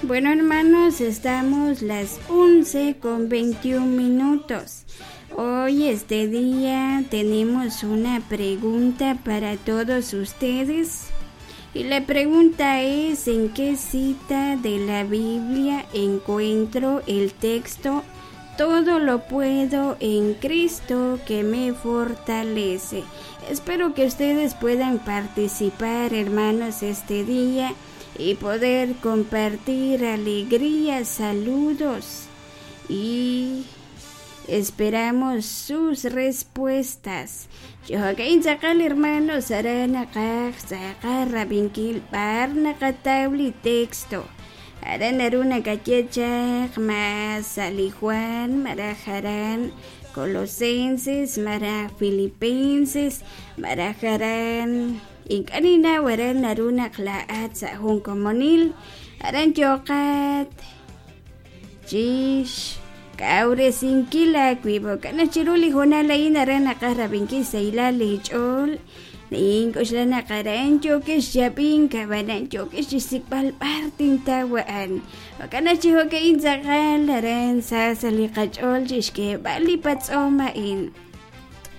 Bueno, hermanos, estamos las 11 con 21 minutos. Hoy, este día, tenemos una pregunta para todos ustedes. Y la pregunta es, ¿en qué cita de la Biblia encuentro el texto Todo lo puedo en Cristo que me fortalece? Espero que ustedes puedan participar, hermanos, este día y poder compartir alegrías, saludos y esperamos sus respuestas. Jo'kan tz'aqal hermanos aran naqaj tz'aqal rab'inkil b'ar naqataw li texto. Aran naru nakaye chaq ma sa' li Juan malaj aran Colosenses malaj Filipenses malaj aran ink'a' ninnaw aran naru naq laa'at sa' jun komonil aran yooqat chix kawresinkil aawib'. Jo'kan naq chiru li hoonal a'in aran naqaj rab'inkil xsahilal leech'ool. Nink'oxla naq aran yookex chi ab'ink, ab'anan yookex chi xsik'b'al b'ar tintaw a'an. Jo'kan naq chi jo'ka'in tz'aqal aran sa sa' li qach'ool chi xk'eeb'al li patz'om a'in.